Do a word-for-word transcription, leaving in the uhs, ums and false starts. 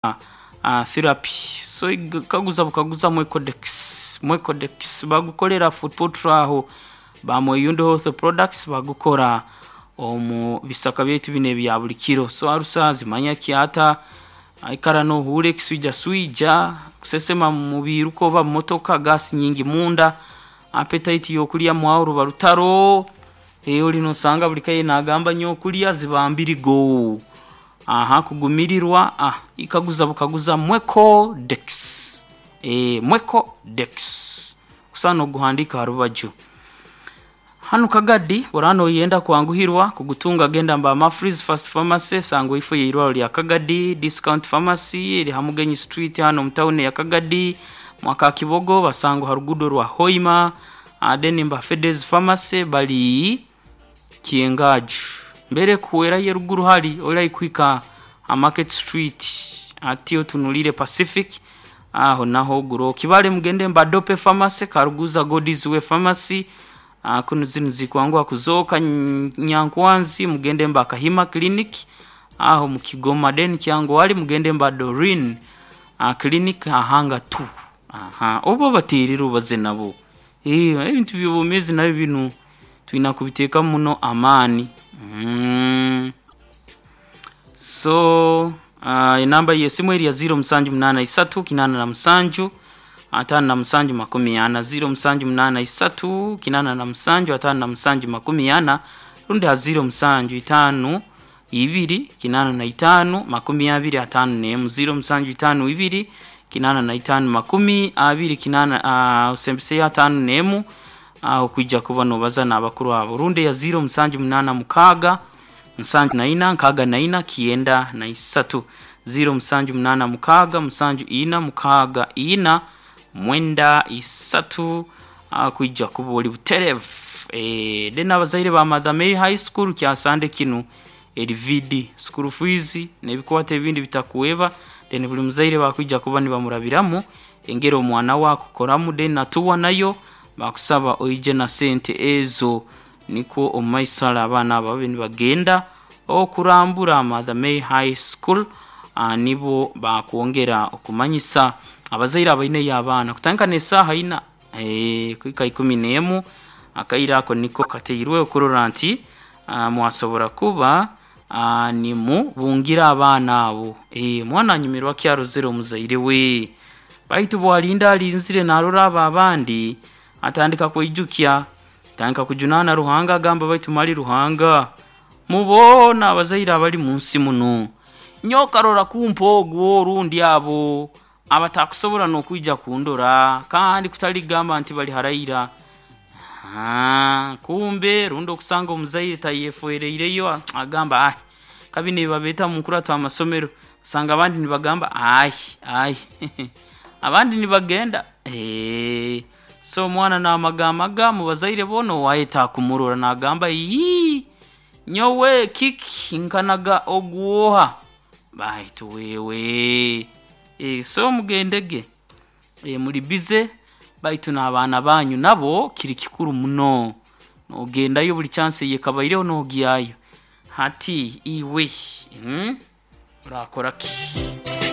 uh, therapy. So kaguza bukaguza mwecodex mwecodex bagukolera foot aho bamweyundo health products bagukora omu bisaka byaitu bino ebya buli kiro. So arusa zimanya kyata aikara nohuura ekiswija swija kusesema mubiruka oba mumotoka, gasi nyingi munda, appetite yokulya mwaho ruba rutaro. eh, oli nosanga buli kaye nagamba nyokulya ziba mbirigo aha kugumirirwa. Ah, ikaguza bukaguza mwecodex, eh, mwecodex kusana oguhandika harubaju hanu Kagadi. Orano yenda kwanguhirwa kugutunga, genda mba Mafreeze Fast Pharmacy sango ifo yeirwaro lya Kagadi, Discount Pharmacy eri Hamugenyi Street hano mu town ya Kagadi, mwaka Kibogo basango harugudo rwa Hoima. Then mba Fedes Pharmacy bali Kiengaju mbere kuwera yeruguru hali ora ikwika a Market Street ati otunulire Pacific aho naho guro kibale. Mugende mba Dope Pharmacy karuguza God's Pharmacy. uh, kuno zinu zikwangwa kuzoka Nyankwanzi. Mugende mba Kahima Clinic aho mukigoma. Den kyango wali mugende mba Dorin uh, Clinic ahanga tu aha obo batirira ubaze nabo. Eh, ebintu by'obumezi nabyo binu twina kubiteeka muno amaani. mm. So uh, enamba yesimu eri ya ziro musanju munana isatu kinana na musanju atano na musanju makumi ana, ziro musanju munana isatu kinana na musanju atano na musanju makumi ana, rundi ha ziro musanju itanu ibiri kinana na itanu makumi abiri atano nemu, ziro musanju itanu ibiri kinana na itanu makumi abiri kinana uh, usembese atano nemu aho kwijja kuba nobaza n'abakuru abo, rundi ya ziro musanju munana mukaga musanju na ina nkaga na ina kienda na isatu, ziro musanju munana mukaga musanju ina mukaga ina mwenda isatu, kwijja kuba oli buterevu. E, then abazaire ba Mother Mary High School kyasande kinu eri vidi school fees n'ebikwata ebindi bitakuweba. Then buli muzaire bakwijja kuba nibamurabiramu engeri omwana wakukoramu. Then natuwa nayo bakusaba oije na sente ezo niko omumaisala abaana abo babe nibagenda okurambura Mother Mary High School. uh, nibo bakwongera okumanyisa abazaire abaineyo abaana kutandika n'esaaha ina eh, kuhika ikumi n'emu. Akaire ako niko kateirwe okurora nti uh, mwasobora kuba uh, nimubungira abaana abo. eh, mwana anyumirwa kyarozere omuzaire we, baitu bwalinda alinzire narora abo abandi atandika kweijukya, atandika kujunana Ruhanga, agamba baitu mali Ruhanga mubona abazaire abali munsi muno nyokarora kumpa ogwo orundi abo abatakusobora nokwija kundora kandi kutaligamba nti bali haraira. Ah, kumbe rundi okusanga omuzaire tayefereireyo agamba ai kabi nibabeta munkurata amasomero, usanga abandi nibagamba ai ai abandi nibagenda. Eh, so omwana namagamaga mubazaire boona owayeta kumurora nagamba yii nyowe kiki nkanaga ogwoha baitu wewe. E, so mugendege e, muri bize baitu n'abaana banyu nabo kiri kikuru muno nogendayo buli chance yekabaireho nogyayo hati iwe mm? Urakora ki?